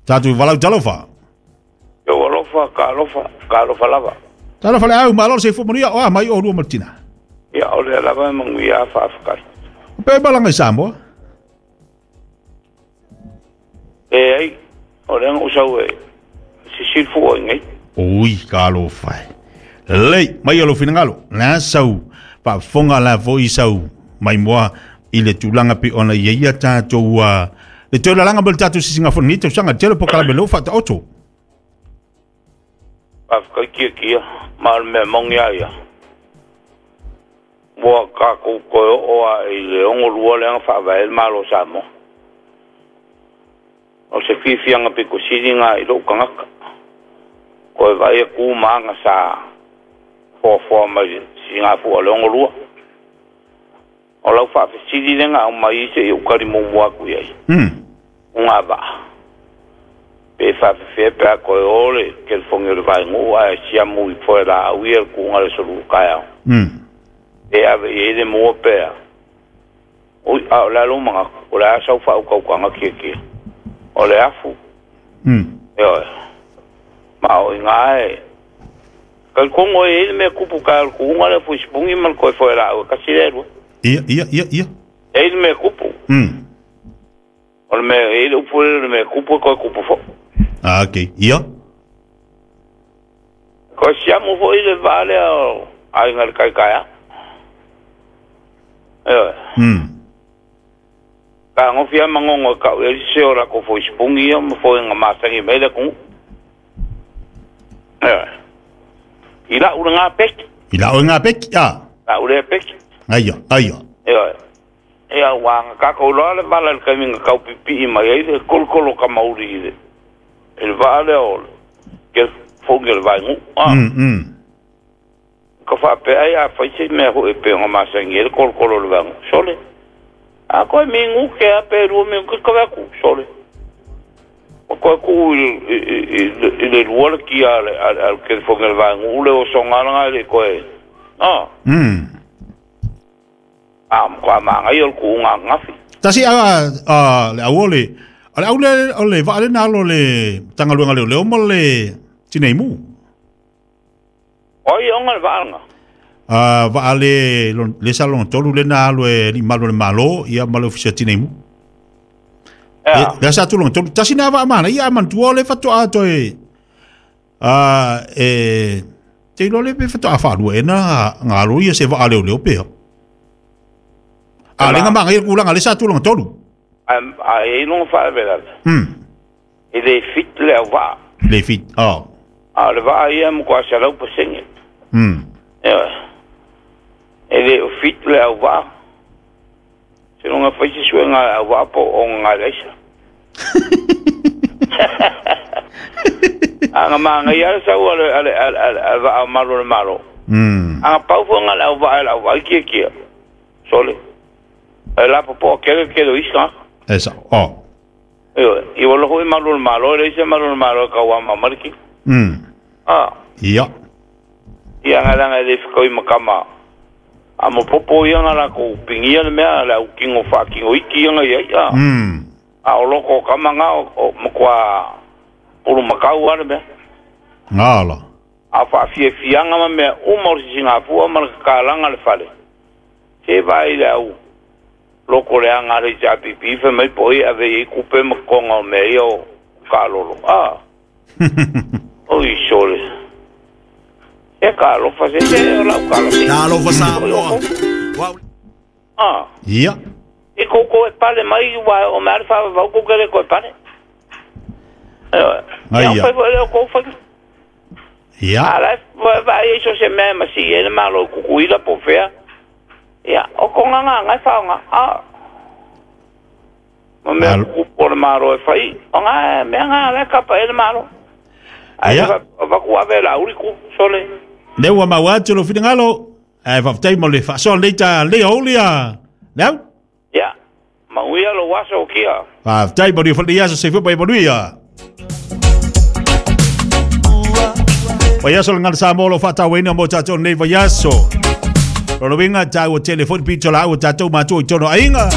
Tatou valaau talofa. Yo alofa ka alofa ka alofa lava. Talofa le au malo se fo manuia o a mai o lua ma le tina. Ia o le lava e manuia faafetai. O pe malaga i Samoa. E ai o le aga sau e sisili fua i nei. Ui, talofa e. Lelei, mai o lou finagalo. Le a sau faafofoga la foi sau maimoa i le tulaga pei ona ia ia tatou le toe lalaga mo le tatou sisigafono nei tausaga tele po kalame lou faataoto. Faafetai kiakia ma o le mea moni a ia. Ua tatou toe oo a i le 62 lea na faavae le Malo o Samoa. O se fiafiaga pito sili lena i lou tagata. Toe vaai atu ma aga sa foafoa mai le sisigafua o le 62. O lau faafesili lea na aumai se i ou tali muamua atu i ai. Uga vaa. Pe faafefea pe a toe o le telefoni o le vaeguu ae siamu i foe laau ia le tuuga le aso taeao. E ave i ai le mua pea. Ui, a o le a lou manatu, o le a sau faautautaga kiakia. O le afu. Ioe. Ma o ina e talitonu e i ai le mea tupu taeao i le tuuga lea o fuisipuni ma le toe foe laau e tasi lea e lua. Ia, ia, ia, ia. E i ai le mea tupu. O le mea, e i ai le upu lea, o le mea tupu e toe tupu foi. Ah, okay. Ia. Toe siamu foi le vaa lea o aiga i le tai taeao. Ioe. Fetagofi lava Manono e tau i ai le sese o latou fuisipuni ia ma foega masani mai le atunuu. Ioe. I lau lena peki. I lau ngā peki, a. Lau lea peki. Aia, aia. Ioe. Ia ua na tatou iloa le vala i le taimi na tau pipii mai ai le kolokolo kamauli i le i le vaa lea o le telefoni o le vaeguu. Ah. Ka faapea ai a fai se mea foi e pei ona masani ai le kolokolo o le vaeguu. Sole. A koe minute a pe 2 minute ka atu. Sole. O koe tuu i le lua le kia a le telefoni o le vaeguu le osoga lena e le koe. Ah. A matua manaia o le tuuga ananafi. Tasi a a le au o le o le au le o le vaa le na alo le Matagaluega o Leoleo ma le Tinei Mu. O ai e ona le vaa lena? A vaa le le sa lona tolu le na alo e alii malu o le Malo ia ma le Ofisa o Tinei Mu. Ea. Le sa atu lona tolu. Tasi na vaa manaia a manatua o le faatoa toe a e te iloa le pe faatoa faalua e na nga alo ia se vaa leoleo pea. A le nga manaia le tulaga le sa tulaga tolu. A e i ai lona faalavelave. E le fit le auvaa. Le fit. Oh. A o le vaa ia e matua 100%. Ioe. E le o fit le auvaa. Seiloga fai se suega a le auvaa po o ogaga i le aisa. A na manaia lava le sau a le, a le, a le, a le, a le vaa o malu o le Malo. A na pau foi na le auvaa e le auvaa kiekie. Sole. E lapopoa tele le tele o isi tagata. E sao. Oh. Ioe. I ua logo foi malu o le Malo, e leai se malu o le Malo e tauama mai le tino. Ah. Ia. Ia nga leaga e le fetaui ma tama a mapopo ia nga latou pigia le mea le au tino faatino iti ia nga i ai a. A o loko o tama nga o matua pulumakau lava le mea. Ngala. A o faafiafiaga ma mea uma o le sisigafua ma le tatalaga le fale, se vaai i le au loko leaga a le HRPP fai mai po o ai e ave i ai tupe ma totoga o mea ia o taalolo. A! Oi sole. Se talofa se se o lau tala se. Talofa Samoa. A! Ia. E koukou e pale mai ua oo mai lava le faavavau kou te le toe pale. Ioe. Ai Ia ia. fai foi lea o kou faiga. Ia. A la e vaai ai so o se mea e masii ai le Malo i Tutuila po o fea. Ia, o kona agaga e faaaoga. A ma mea Al- tutupu o le Malo e fai, o na mea na la e kapa i ai le Malo. Ae Ia. le avatu ave e Laauli ku, sole. Lea ua maua atu lou finagalo. Ae faafetai mo le faasoa lenei ta lenei aoauli a le au. Ia, manuia lou aso o kia. Faafetai manuia foi lenei aso soifua ma ia manuia. Vaiaso le Gagana Samoa o lo o faatauaina mo tatou lenei vaiaso. Lona uiga taua tele foi le pito laau a tatou matua i totonu o aiga.